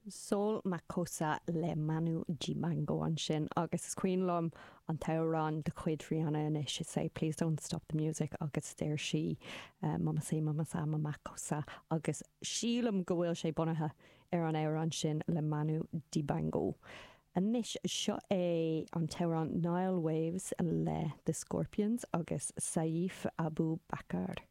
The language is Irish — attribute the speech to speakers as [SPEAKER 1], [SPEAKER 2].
[SPEAKER 1] Soul Makossa le Manu Dibango ansin agus is cuimhin liom an t-amhrán de chuid Rihanna anois, is é Please Don't Stop the Music agus deir sí Mama say mama sa mama kossa agus sílim go bhfuil sé bunaithe ar an amhrán sin le Manu Dibango. Anois seo é an t-amhrán Nile Waves le The Scorpions agus Saif Abu Bakr.